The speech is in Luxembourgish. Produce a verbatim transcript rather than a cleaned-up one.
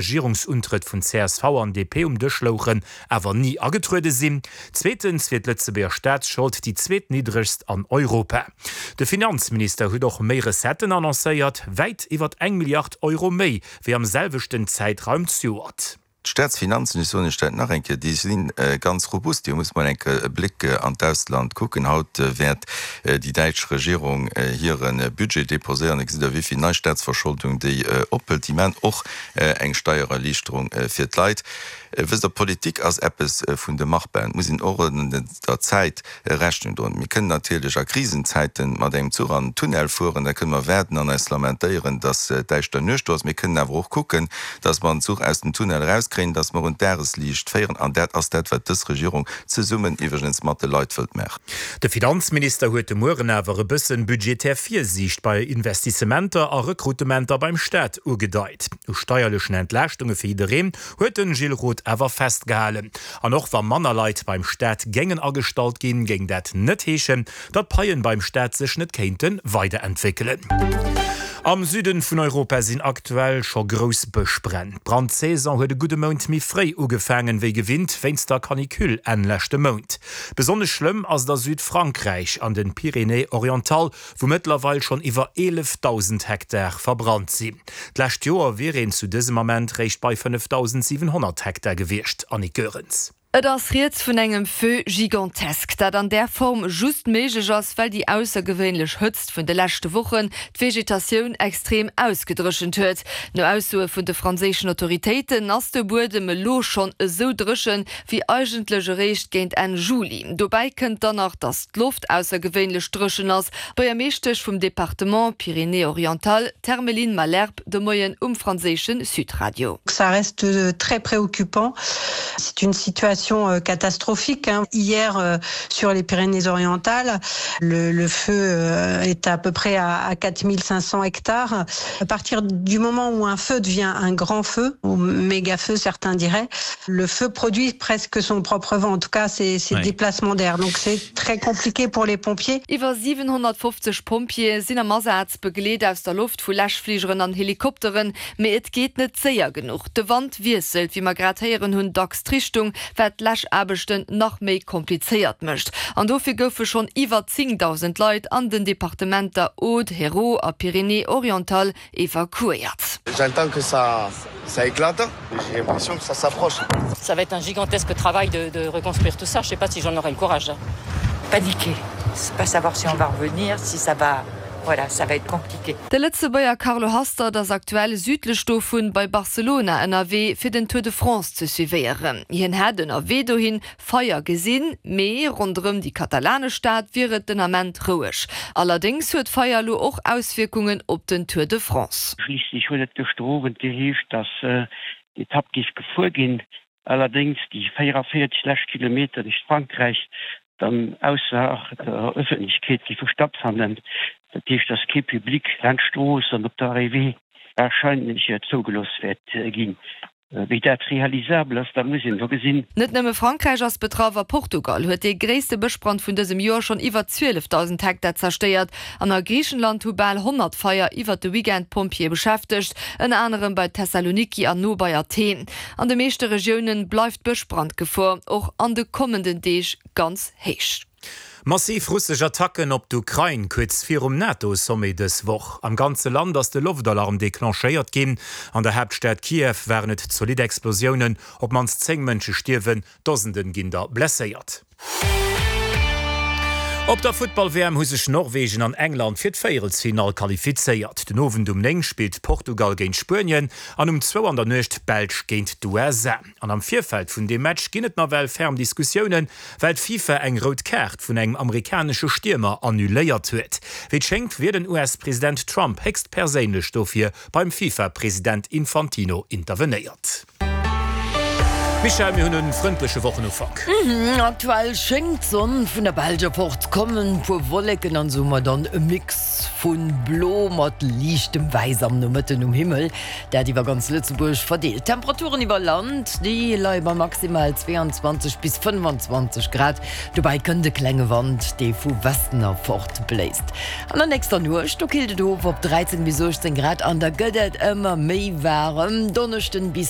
Regierungsuntrëtt vun csv an D P um Dësch louchen, awer ni agetruede sinn. Zweetens wier d'Lëtzebuerger Staatsschold déi zweetniddregst an Europa. De Finanzminister huet och méi Recetten annoncéiert, wäit iwwer eng Milliard Euro méi wéi am selwechten Zäitraum zejoert. D'Staatsfinanzen, ech soen iech dat nach eng Kéier, déi si ganz robust. Dir musst mol eng Kéier e Bléck an d'Ausland kucken. Haut wäert déi däitsch Regierung hire Budget deposéieren. Da gesitt Der, wéi vill nei Staatsverscholdung déi ophëlt. Déi maachen och eng Steiererliichterung fir d'Leit. Wësst Der, Politik ass eppes vun de Machbaren. Et muss een och der Zäit Rechnung droen. Mir kënnen natierlech a Krisenzäite mat engem Zuch an den Tunnel fueren. Da kënne mer waarden an eis lamentéieren, dass däischter Nuecht do ass. Mir kënnen awer och kucken, dass mer den Zuch aus dem Tunnel erauskréien, dass mer un d'Dagesliicht féieren. An dat ass dat, wat dës Regierung zesummen iwwregens mat de Leit wëllt maachen. De Finanzminister huet de Mueren awer e bëssen budgetär Virsiicht bei Investissementer a Rekrutementer beim Staat ugedeit. U steierlechen Entlaaschtunge fir jiddereen huet den Gilles Roth awer festgehalen. An och wa manner Leit beim Staat géingen agestallt ginn, géing dat net heeschen, datt d'Paien beim Staat sech net kéinte weiderentwéckelen. Am Süden vun Europa sinn aktuell scho grouss Bëschbränn. D'Brandsaison huet e gudde Mount méi fréi ugefaangen wéi gewinnt wéinst der Canicule Enn leschte Mount. Besonnesch schlëmm ass et a Südfrankräich an den Pyrénées-Orientales, wou mëttlerweil schonn iwwer eelefdausend Hektar verbrannt sinn. D'lescht Joer wier een zu dësem Ament réischt bei fënnefdausendsiwenhonnert Hektar gewiescht. Annick Goerens. Et ass rieds vun engem Feu gigantesque, dat an där Form just méiglech ass, well déi aussergewéinlech Hëtzt vun de leschte Wochen d'Vegetatioun extrem ausgedréchent huet. No Aussoe vun de franséischen Autoritéiten ass de Buedem elo schonn esou dréchen, wéi eigentlech eréischt géint Enn Juli. Dobäi kënnt dann nach, datt d'Loft aussergewéinlech dréchen ass. D'Buergermeeschtesch vum Departement Pyrénées-Orientales, d'Hermeline Malherbe, de Moien um franséische Sud-Radio. Ça reste très préoccupant. C'est une situation euh, catastrophique. Hein. Hier, euh, sur les Pyrénées-Orientales, le, le feu euh, est à peu près à, à quatre mille cinq cents hectares. À partir du moment où un feu devient un grand feu, ou méga feu, certains diraient, le feu produit presque son propre vent. En tout cas, c'est ouais. déplacement d'air. Donc c'est très compliqué pour les pompiers. Iwwer siwenhonnertfofzeg Pompjeeë sinn am Asaz, begleet aus der Loft vu Läschfligeren an Helikopteren, mee et geet net séier genuch. De Wand wiesselt, wéi mer grad héieren hunn, dacks d'Richtung, wat d'Läschaarbechten nach méi komplizéiert mécht. An dofir goufe schonn iwwer zéngdausend Leit an den Departementer Aude, Hérault a Pyrénées-Orientales evakuéiert. J'attends que ça, ça éclate. J'ai l'impression que ça s'approche. Ça va être un gigantesque travail de, de reconstruire tout ça. Je sais pas si j'en aurai le courage. Paniquer, pas savoir si on va revenir, si ça va. Voilà, ça va être compliqué. De Lëtzebuerger Carlo Hastert ass aktuell südlech dovun bei Barcelona ënnerwee fir den Tour de France ze suivéieren. Hien hätt ënnerwee dohin Feier gesinn, mee ronderëm déi katalanesch Stad wier et den Ament roueg. Allerdéngs huet d'Feier elo och Auswierkungen op den Tour de France. Schliisslech huet et gëschter Owend geheescht, dass d'Etapp géif gefuer ginn, allerdéngs déi véieranvéierzeg lescht Kilometer duerch Frankräich dann ausser der Ëffentlechkeet géife stattfannen. Dat heescht, dass kee Public laanscht d'Strooss an op der Arrivée warscheinlech zougelooss wäert ginn. Wéi dat realisabel ass, dat muss een elo gesinn. Net nëmme Frankräich ass betraff, a Portugal huet dee gréisste Bëschbrand vun dësem Joer schonn iwwer zwielefdausend Hektar zerstéiert an a Griichenland hu bal honnert Feier iwwer de Weekend d'Pompjeeë beschäftegt, ënner anerem bei Thessaloniki an no bei Athen. An de meeschte Regioune bleift d'Bëschbrandgefor och an de kommenden Deeg ganz héich. Massiv russesch Attacken op d'Ukrain kuerz virum NATO-Sommet dës Woch. Am ganze Land ass de Loftalarm declenchéiert ginn. An der Haaptstad Kiew waren et zolidd Explosiounen, op d'mannst zéng Mënsche stierwen, Dosende ginn der blesséiert. Op der Futtball-W M hu sech Norwegen an England fir d'Véierelsfinall qualifizéiert. Den Owend um néng spillt Portugal géint Spuenien an um zwou an der Nuecht d'Belsch géint d'U S A. An am Virfeld vun deem Match ginn et nawell ferm Diskussiounen, well d'FIFA eng rout Kaart vun engem amerikanesche Stiermer annuléiert huet. Wéi et schéngt, wier den U S-President Trump héchstperséinlech dofir beim FIFA-President Infantino intervenéiert. Michèle, mir hunn e frëndleche Wochenufank. Mhm, aktuell schéngt d'Sonn vun der Belsch erfort kommen, puer Wolleken an esou mat dann e Mix vu Blo mat liichtem Wäiss am Nomëtten um Himmel, dat iwwer ganz Lëtzebuerg verdeelt. D'Temperaturen iwwer Land, déi leie bei maximal zwee an zwanzeg bis fënnefan zwanzeg Grad, dobäi kënnt e klenge Wand, dee vu Westen erfort bléist. An der nächster Nuecht, do killt et of op dräizéng bis uechtzéng Grad an da gëtt et ëmmer méi waarem, Donneschden bis